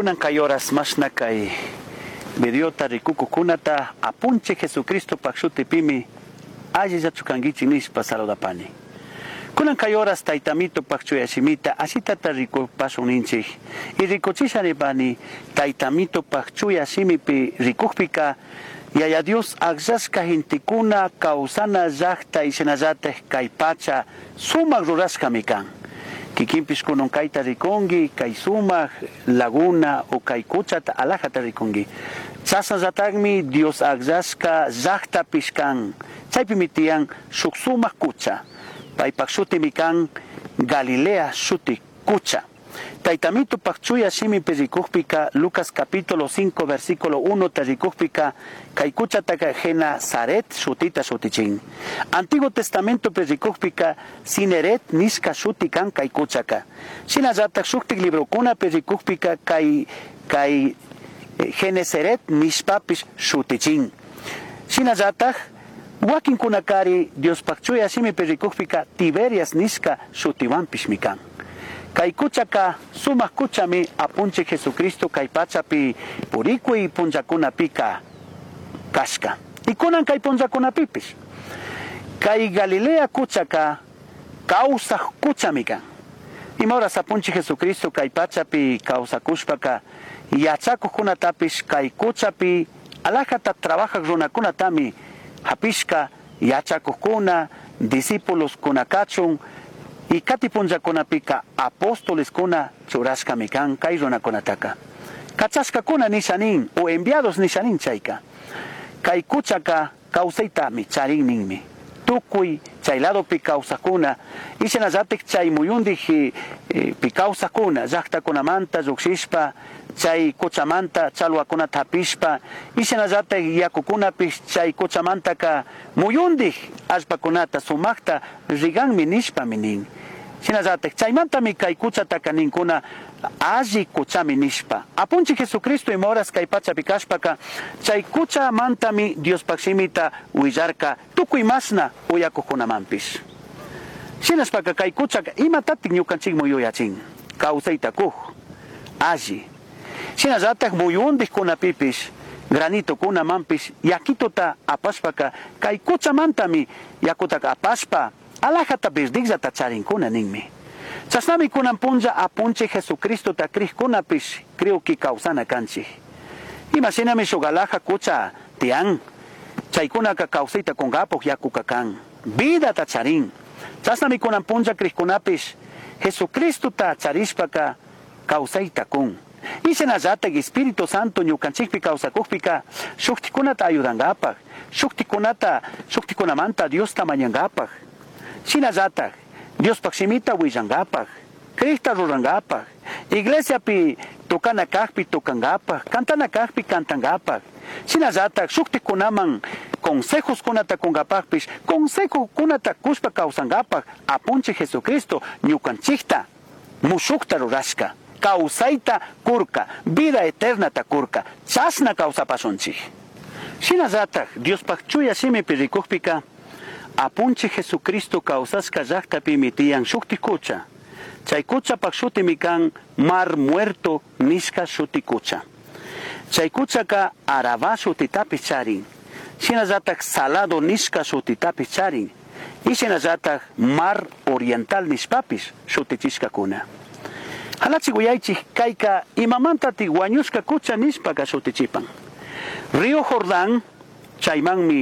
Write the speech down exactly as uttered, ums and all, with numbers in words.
Kunan kay horas mashna kay videota rikukukunata apunchik Jesucristo shutipimi allillachu kankichik nishpa saludapani. Kunan kay horas taytamito chuya shimita ashitata rikupashun ninchik y rikuchisha nipani taytamito chuya shimipi rikukpika Yaya Dios akllashka gentekuna kawsana llakta y shinallatak kay pacha sumak rurashkami kan. Kikinpish kunan kayta rikunki, kay sumak laguna o kay kuchata alajata rikunki. Chasnallatakmi Dios akllashka llaktapish kan. Chaypimi tiyan shuk sumak kucha. Paypak shutimi kan Galilea shuti kucha. Taytamito chuya shimipi rikukpika Lucas capítulo cinco versículo uno ta rikukpika kay kuchataka Genesaret shutita shutichin. Antiguo Testamento pi rikukpika Cineret nishka shuti kan kay kuchaka. Shinallatak shuktik librokunapi rikukpika kay kay Genesaret nishpapish shutichin. Shinallatak wakinkunakari Diospaj chuya shimipi rikukpika Tiberias nishka shutiwanpishmi kan. Kay kuchaka sumak kuchami apunchik Jesucristo kay pachapi purikuy punllakunapika kashka. Y kunan kay punllakunapipish. Kay Galilea kuchaka kawsaj kuchami kan. Ima horas apunchik Jesucristo kay pachapi kawsakushpaka yachakuqkunatapish kay kuchapi alajata trabajaq runakunatami hapishka yachakuqkuna discípulos kuna kachun y kati punllakunapika apóstoles kuna churashkami kan kay runakunataka. Kachashkakuna nisha nin o enviados nisha nin chayka. Kay kuchaka kawsaytami charin ninmi. Tukuy chay ladopi kawsakuna y shinallatik chay muyundik eh, pi kawsakuna llaqtakunamanta lluqshishpa chay kuchamanta challwakunata hapishpa y shinallatik yakukunapish chay kuchamantaka muyundik allpakunata sumakta riganmi nishpami nin. Shinallatik chaymantami kay kuchataka ninkuna alli kuchami nishpa. Apunchik Jesucristo ima horas kay pachapi kashpaka chay kuchamantami Diospaj shimita willarka tukuy mashna uyakuqkunamanpish. Shinashpaka kay kuchaka imatatik ñukanchikman yuyachin kawsayta kuj alli. Shinallatak muyundikkunapipish granitokunamanpish yakituta apashpaka kay kuchamantami yakutaka apashpa alajata verdikllata charinkuna ninmi. Chashnami kunan punlla apunchik Jesucristota krikkunapish creo que kawsana kanchik. Imashinami shuk alaja kucha tiyan chaykunaka kawsayta kunkapuq yakuka kan vidata charin. Chashnami kunan punlla krikkunapish Jesucristota charishpaka kawsayta kun. Y shinallatak Espíritu Santo ñukanchikpi kawsakukpika shuktikunata ayudankapaq, shuktikunata shuktikunamanta Diosta mañankapaq. Shinallatak Diospaj shimita willankapaq, krikta rurankapaq, iglesiapi tocana kajpi tocankapaq, cantana kajpi cantankapaq. Shinallatak shuktikunaman consejos kunata kunkapaqpish, consejo kunata kushpa kawsankapaq apunchik Jesucristo ñukanchikta mushukta rurashka, kawsayta kurka, vida eternata kurka, chashna kawsapashunchik. Shinallatak Diospaj chuya shimipi rikukpika apunchik Jesucristo kawsashka llaqtapimi tiyan shukti kucha. Chay kuchapaq shutimi kan Mar Muerto nishka shuti kucha. Chay kuchaka Arabá shutitapish charin. Shinallatak Salado nishka shutitapish charin. Y shinallatak Mar Oriental nishpapish shutichishkakuna. Halachik uyaychik kayka imamantatik wañushka kucha nishpaka shutichipan. Río Jordán chaymanmi